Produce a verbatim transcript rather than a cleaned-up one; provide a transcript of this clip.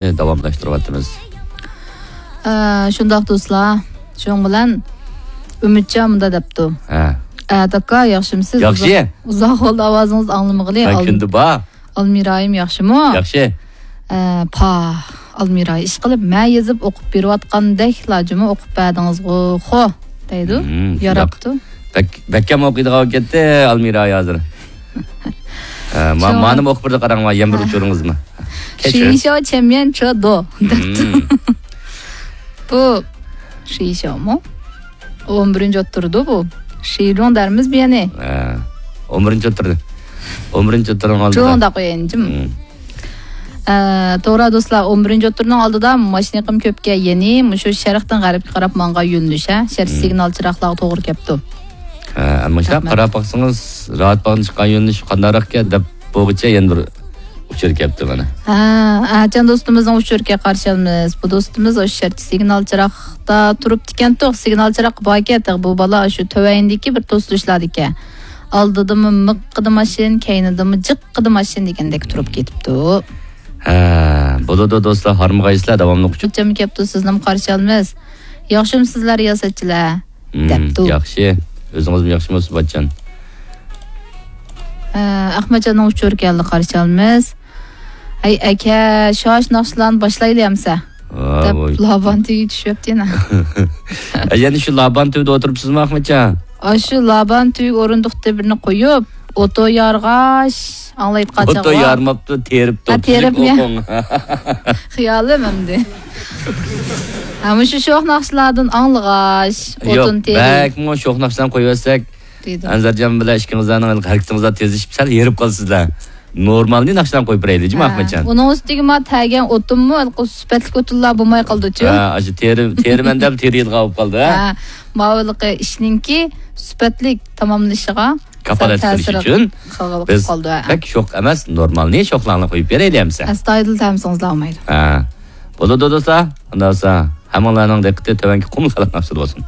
داۋاملاشتۇرۇۋاتىمىز. ئە، شۇنداق دوستلار، شۇنىڭ بىلەن ئۈمىدجان مۇنداق دەپتۇ. ھە. ئە، ئاكا، ياخشىمۇسىز؟ ياخشى. ئۇزاق، ئۇزاق بولدى ئاۋازىڭىزنى ئاڭلىمىغىلى. مەن ئال-، كۈندە بار. ئالمىرايىم ياخشىمۇ؟ ياخشى. ئە، پا، ئالمىراي، ئىشقىلىپ، مەن يېزىپ ئوقۇپ بېرىۋاتقاندەكلا جۇمۇ ئوقۇپ بەردىڭىزغۇ، خو، دەيدۇ. مم، شۇنداق. ياراپتۇ. بەك، بەككەم ئوقۇيدىغان بولۇپ كەتتى ئالمىراي ھازىر. ئە، ما-، شۇڭا. مانىمۇ ئوقۇپ بېرىدۇ، قاراڭلار، يەنە بىر ھە. ئۇچۇرىڭىزمۇ. كەچۈرۈڭ. 学校前面车多 دەپتۇ. مم. بۇ 学校 مۇ؟ ئون بىرىنچى ئوتتۇرىدۇ بۇ. 十中 دەرمىز بۇ يەنى. ھە. ئون بىرىنچى ئوتتۇرىدۇ. ئون بىرىنچى ئوتتۇرىنىڭ ئالدىدا. 中 دەپ قويايىن، جىم. مم. ئە، توغرا دوستلار، ئون بىرىنچى ئوتتۇرىنىڭ ئالدىدا ماشىنا يېقىم كۆپكەن يەنى مۇشۇ شەرقتىن غەربكە قاراپ ماڭغان يۆنىلىش، ھە؟ شەرت مم. سىگنال چىراغلارغا توغرا كەپتۇ. ھە، مۇشۇنداق رەھمەت. قاراپ باقسىڭىز، راۋات باغدىن چىققان يۆنىلىش قانداقراقكەن دەپ بوغۇچە يەنە بىر ئۇچۇر كەپتۇ مانا. ھە، ئەچەن دوستىمىزنىڭ ئۇچۇرىغا قارشى ئالىمىز. بۇ دوستىمىز ئاشۇ شەرت سىگنال چىراغدا تۇرۇپتىكەن، توق سىگنال چىراغ باركەن، تېخى بۇ بالا شۇ تۆۋەندىكى بىر توسۇلۇشلاردىكەن. ئالدىدىمۇ مىققىدە ماشىنا، كەينىدىمۇ جىققىدە ماشىنا دېگەندەك تۇرۇپ كېتىپتۇ. ھە، بولىدۇ دوستلار، ھارمىغايسىلەر، داۋاملىق ئۇچۇر. قاچانمۇ كەپتۇ، سىزنىمۇ قارشى ئالىمىز. ياخشىمۇسىزلەر، رىياسەتچىلەر؟ مم، دەپتۇ. ياخشى. ئۆزىڭىزمۇ ياخشىمۇ، سۇباتجان؟ ئە، ئەخمەتجاننىڭ ئۇچۇرى كەلدى، قارشى ئالىمىز. ھەي، ئەكە، شاش ناخشىلارنى باشلايلى ئەمسە. ۋا، دەپ، ۋاي. لابان تۈۋىگە چۈشۈۋەپتۇ يەنە. ئە، يەنە شۇ لابان تۈۋىدە ئولتۇرۇپسىزمۇ، ئەخمەتجان؟ ئاشۇ لابان تۈۋىگە ئورۇندۇقتا بىرنى قويۇپ، ئوتو يارغاچ، ئاڭلايدىغان ئوتو چاغ بار. يارماپتۇ، تېرىپتۇ. ھە، تېرىپمۇ؟ خىيالىم ئەمدى. ھە، مۇشۇ شوخ ناخشىلاردىن ئاڭلىغاچ، يوق، ئوتۇن تېرىپ. بەكمۇ شوخ ناخشىلارنى قويۇۋەتسەك، دېدى. ئەنزەرجان بىلەن ئىككىڭىزلارنىڭ ھەرىكىتىڭىزلار تېزلىشىپ، سەل ھېرىپ قالىسىزلار. نورمالنى ناخشىلارنى قويۇپ بېرەيلى، جۇمۇ ھە. ئەخمەتجان. ئۇنىڭ ئۈستىگە ما تەگەن ئوتۇنمۇ، ھېلىقى سۈپەتلىك ئوتۇنلار بولماي قالدىچۇ؟ ھە، ئاشۇ تېرە-، تېرىمەن دەپ تېرىيدىغان بولۇپ قالدى، ھە؟ ھە، ماۋۇ ھېلىقى ئىشنىڭكى سۈپەتلىك تاماملىشىغا كاپالەتلىك سەل قىلىش تەسىر ئۈچۈن قىلغىلى بىز قالدى، ھە. بەك شوخ ئەمەس، نورمالنى شوخلارنى قويۇپ بېرەيلى ئەمسە. ئەستايىدىل تەمسىڭىزلار ئالمايدۇ. ھە. بولىدۇ دوستلار، ئۇنداق بولسا ھەممىڭلارنىڭ دىققىتى تۆۋەنكى قۇمۇل خەلق ناخشىدا بولسۇن.